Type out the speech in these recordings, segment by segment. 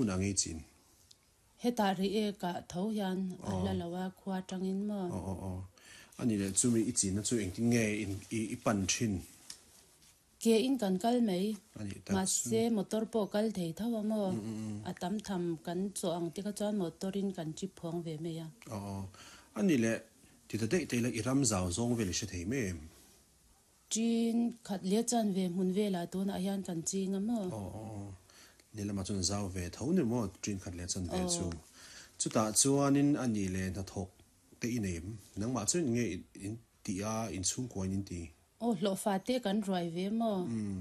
Hmun ang i chin. Hetah Reiek ah tho hian a hla lo a, khua tangin maw? Aw aw aw. A nih leh chumi i chinna chu engtin nge i pan thin? Ke in kan kal mai. A nih tak chu. Mahse motor pawh kal thei tho a maw? A tam tham kan chawh ang te kha chuan motor in kan chip phuang ve mai a. Aw aw. A nih leh ti ta daih daih la i ram zau zawng vel i hre thei mai em? Chin khat leh chuan ve hmun velah tunah hian kan ching a maw? Aw aw aw. Lehlamah chuan zau ve tho ni maw chin khat leh chuan ve chu. Chutah chuanin a nih leh hnathawk te i nei em? Nangmah chuan eng nge in tih a, inchhungkua in in ti? Aw hlawhfa te kan ruai ve maw? Umm.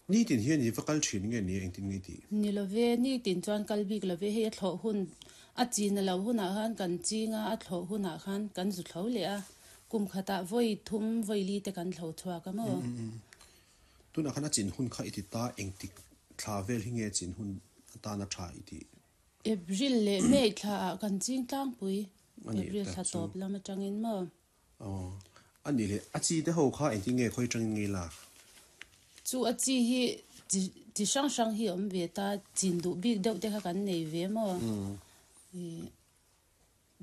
Nitin hian i va kal thin nge ni a engtin nge i tih? Ni love, nitin chuan kal bik love, hei a thlawh hun, a chin a lo hunah khan kan ching a, a thlawh hunah khan kan zu thlo leh a, kum khatah vawi thum vawi li te kan thlo chhuak a maw? Tunah khan a chin hun kha i ti ta, engtik thla vel hi nge chin hun atana tha i tih? April leh May thla ah kan ching tlangpui, April thla tawp lam atangin maw? Aw, a nih leh, a chi te ho kha engtin nge khawi tangin nge lak? Chu a chi hi chi chi hrang hrang hi a awm ve ta, chin duh bik deuh te kha kan nei ve maw? Ih,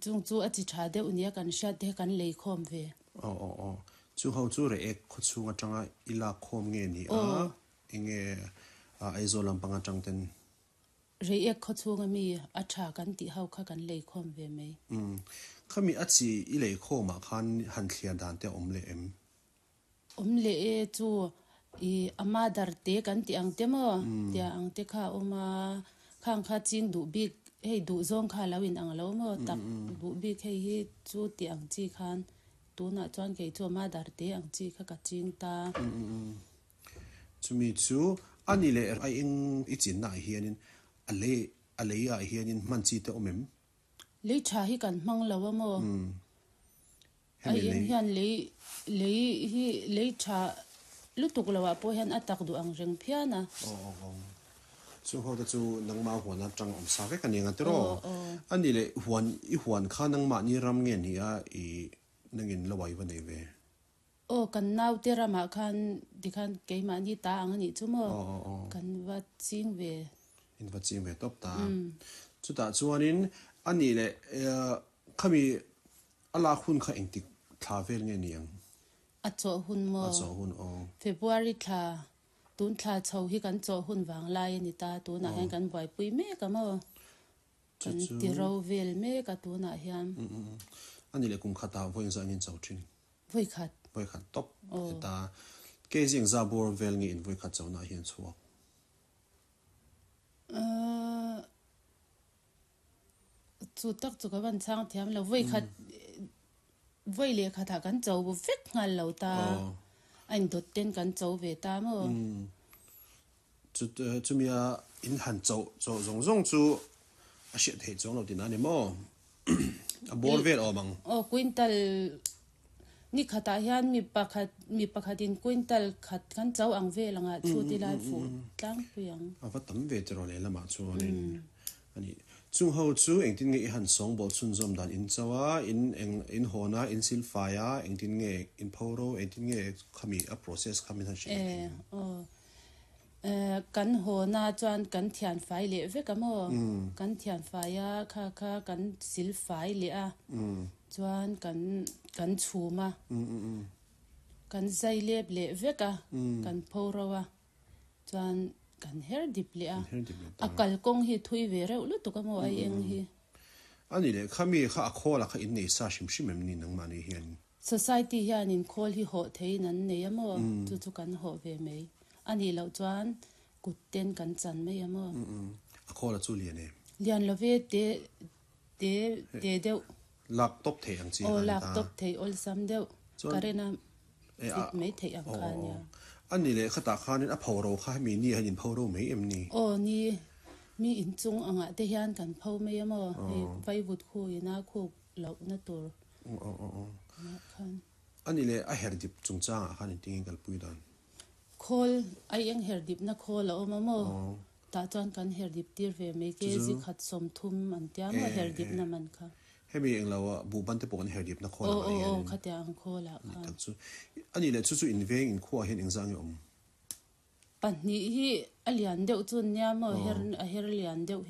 chung chu a chi tha deuh nia kan hriat te kha kan lei khawm ve. Aw aw aw, chu ho chu reh ek khaw chhung atanga i lak khawm nge ni a, enge Aizawl lampang atang ten? Reiek khaw chhunga mi a tha kan tih ho kha kan leikhawm ve mai. Umm. Khami a chi i leikhawmah khan han thliar dan te a awm leh em? Awm leh e chu i a mother te kan tih ang te maw? Tia ang te kha a awm a, khang kha ching duh bik hei duh zawng kha a lo in ang lo maw? Tak duh bik hei hi chu tih ang chi khan tunah chuan kei chu a mother te ang chi kha ka ching ta. Chumi chu a ni leh a eng i chinna ah hianin a lei a lei ah hianin hman chi te awm em? Lei tha hi kan hmang lo a maw? A eng hian lei lei hi lei tha lutuk lo ah pawh hian a tak duh ang reng phian a. Aw aw aw. Chu ho te chu nangmah huan atang awm sa vek a ni ang a tiraw? A ni leh huan i huan kha nangmahni ram nge ni a i nangin lo ai va nei ve? Aw kan naute ramah khan tikhan keimahni ta ang a nih chu maw? Kan va ching ve. In va ching ve tawp ta. Chutah chuanin a nih leh khami a lak hun kha engtik thla vel nge ni ang? A chawh hun maw? A chawh hun aw. February thla, tun thla chho hi kan chawh hun vang lai a ni ta, tunah hian kan buaipui mek a maw? Kan ti ro vel mek a tunah hian. A nih leh kum khatah vawi engzah nge in cho thin? Vawi khat. Vawi khat tawp. Heta kg engzah bawr vel nge in vawi khat cho nah hian chhuak? Chu tak chu ka van chhang thiam lo. Vawi khat vawi leh khatah kan cho vek nghal lo ta. A indawt ten kan cho ve ta maw? Chumia in han choh choh zawng zawng chu a hriat theih chuang lo tihna a ni maw? A bawr vel awm ang. Aw, quintal ni khatah hian mi pakhat mi pakhatin quintal khat kan cho ang vel anga chhut ila fuh tlangpui ang. A va tam ve tiraw lehlamah chuanin a ni. Chung ho chu engtin nge i han sawngbawl chhunzawm dan in cho a, in eng in hawn a, in silfai a, engtin nge in pho ro, engtin nge khami a process kha min han hrilh leh thei ang. Aw. Kan hawna chuan kan thianfai leh vek a maw? Kan thianfai a, kha kha kan silfai leh a, chuan kan kan chhum a, kan zai lep leh vek a, kan pho ro a, chuan kan her dip leh a, a kalkawng hi thui ve reuh lutuk a maw ai eng hi? A nih leh kha mi kha a khawl a kha innei sa hrim hrim em ni nangmahni hian? Society hianin khawl hi hawh theiin an nei a maw? Chu chu kan hawh ve mai. A nih loh chuan kut ten kan chan mai a maw? A khawl a chu lian em? Lian lo ve, te te te deuh. Lak tawp theih ang chi kha a ni ta. Aw, lak tawp theih awlsam deuh. Current a fit mai theih ang kha a nia. A nih leh khatah khanin a pho ro kha hemi ni hian in pho ro mai em ni? Aw ni, mi inchung angah te hian kan pho mai a maw? Hei vaivut khu ina khuk lohna tur. Aw aw aw aw. A nih leh a her dip chungchangah khan engtin nge kalpui dan? Khawl, ai eng her dipna khawl a awm a maw? Tah chuan kan her dip tir ve mai ke zikhat 30 an tia maw her dipna man kha. Hemi eng lo ah buhban te pawh kan her dipna khawl ang ah hian. Aw aw aw khatiang ang khawl ah khan. A nih tak chu. A nih leh chu chu in veng in khuaah hian engzah nge awm? Pahnih hi a lian deuh chu an nia maw her a her lian deuh hi.